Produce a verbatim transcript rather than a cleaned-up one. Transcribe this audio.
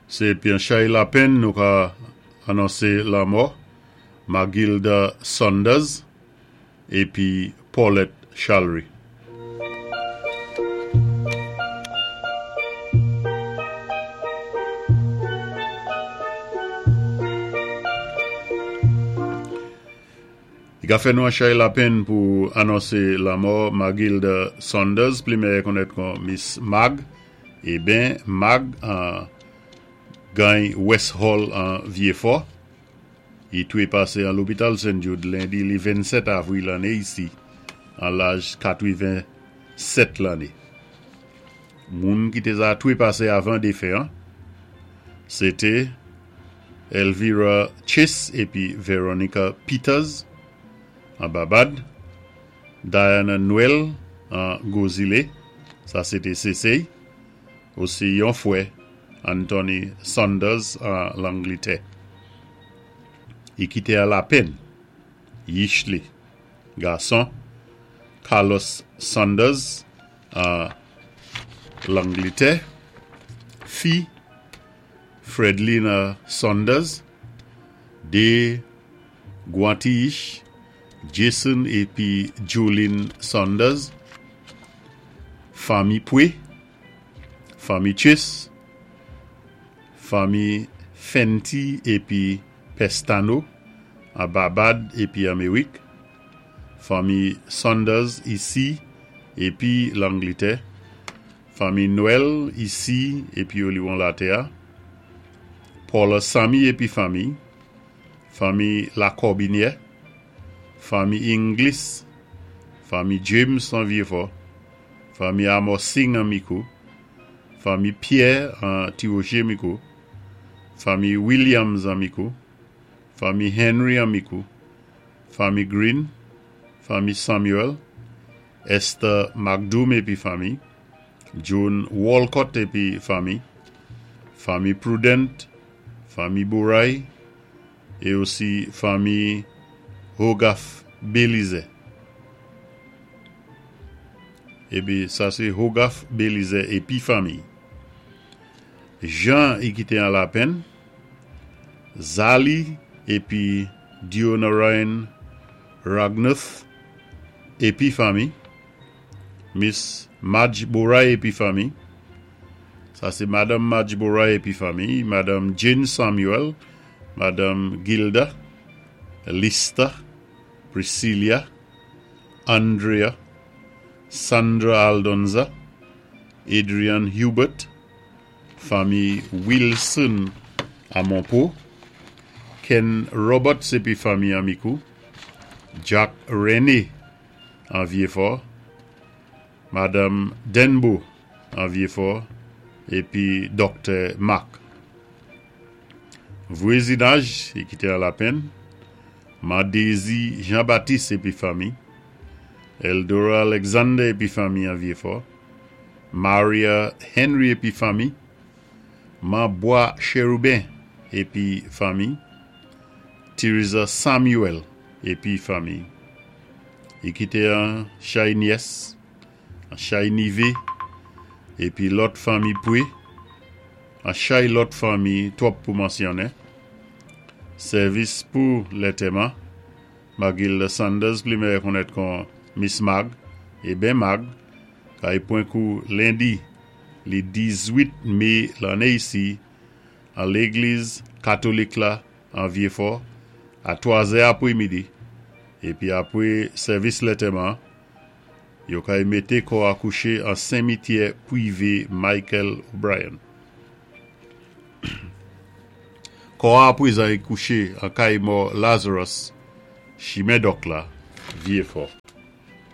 Sé pi an chay lapenn nou ka anonsé lanmò Magilda Saunders épi Paulette Chalry. I ka fè nou an chay lapenn pou anonsé lanmò Magilda Saunders, pli mèyè konnèt kon Miss Mag, é ben Mag an gany West Hall an Vyéfò. I twé pasé an lopital Saint Jude lendi li vennsèt avril lanné isi, an laj katwenn-sèt lanné. Moun ki té za twé pasé avan défen an, sé té Elvira Chase épi Veronica Peters an Babad, Diana Noel an Gozilé, sa sé té Sésey, osi yon fwè Anthony Saunders an Langlitè. I kité an lapenn, yich li, gason, Carlos Saunders an Langlitè, fi Fredlina Saunders, dé gwan ti yich, Jason épi Jolene Saunders, fanmi Poué, fanmi Chase, fanmi Fenty épi Pestano an Babad épi Améwik, fanmi Saunders isi épi Langlitè, fanmi Noël isi épi Oliwon Latè, Paula Samy épi fanmi, fanmi Lacorbinière, fanmi Inglis, fanmi James an Vyéfò, fanmi Amos Singh an Mikou, fanmi Pierre an Tiwoché Mikou, fanmi Williams an Mikou, fanmi Henry an Mikou, fanmi Green, fanmi Samuel, Esther McDoom épi fanmi, Joan Walcott épi fanmi, fanmi Prudent, fanmi Boray, é osi fanmi Hogarth Belize. Épi sa sé Hogarth Belize épi fanmi. Jean i kité an lapenn, Zali épi Dionarine Ragnuth épi fanmi, Miss Madge Boray épi fanmi, sa sé Madanm Madge Boray épi fanmi, Madanm Jane Samuel, Madanm Gilda, Lista, Priscilla, Andrea, Sandra Aldonza, Adrian Hubert, fanmi Wilson a Monpo, Ken Roberts épi fanmi an Mikou, Jack René an Vyéfò, Madanm Denbo an Vyéfò, épi Doktè Marc. Vwazinaj, i kité an lapenn, Mandézi Jean-Baptiste épi fanmi, Eldora Alexander épi fanmi an Vyéfò, Maria Henry épi fanmi, Mambois Chérubin épi fanmi, Teresa Samuel épi fanmi. I kité an chay nyès, an chay nivé, épi lòt fanmi pwé, an chay lòt fanmi twòp pou mansyonnen. Sèvis pou lantèman, Magilda Sanders, pli mèyè konnèt kon Miss Mag, é ben Mag, kay pwan kou lendi, li dizwit mé lanné isi, an légliz katolik la, an Vyéfò, a twa zè apwé midi. Épi apwé sèvis lantèman, yo kay mété kò a kouché an simityè pwivé Michael O'Brien. Kò a apwézan i kouché an kay mò Lazarus, chimen Dòk la, Vyéfò.